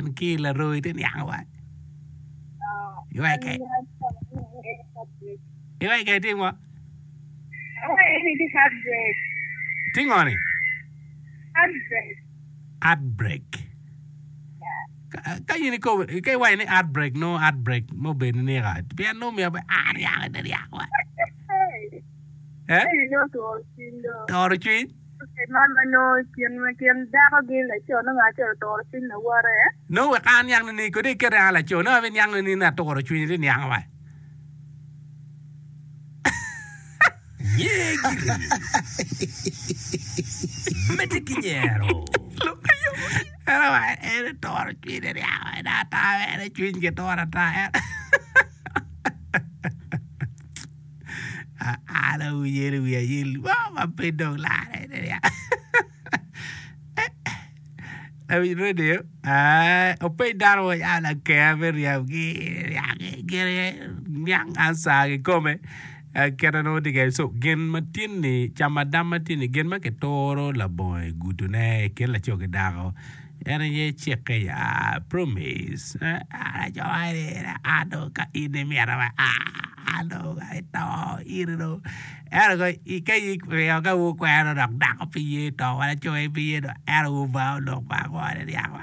an ki laroi te niang wa. Iweke. Iweke itim ngo? Ti ngo ni? Heartbreak. Ka in ikobo, ka iwaco ni heartbreak nongo heartbreak mo obedo ni nika pien nongo myero bed a niang ite niang wa. Eh? Toro cwiny. Nongo wek an aniang ni kodi ikete an laco nongo abiniang ni ni aturo cwinyi ite niang wa. Nye giri. Medde ki nyero. En owaco en oturo cwinye niang wa en ata en cwiny ki turo ata en. An awinyo ni wiya yel mo ma pe dong larre Lawiny redio openy dano mo ya laker me ryemgi niang ansa kikome kite nongo tye kwede so gin ma tye-ni camadam ma tye-ni gin ma kituro labongo i gudone i kin laco ki dako. En aye cikke ya, promise, an aco ni an dong ka in imita wa an dong ato iri dong ento ka in ka wukwero dok dako pe ye to wa laco aye pe ye to ento wubao lok pa ango ni ryeko.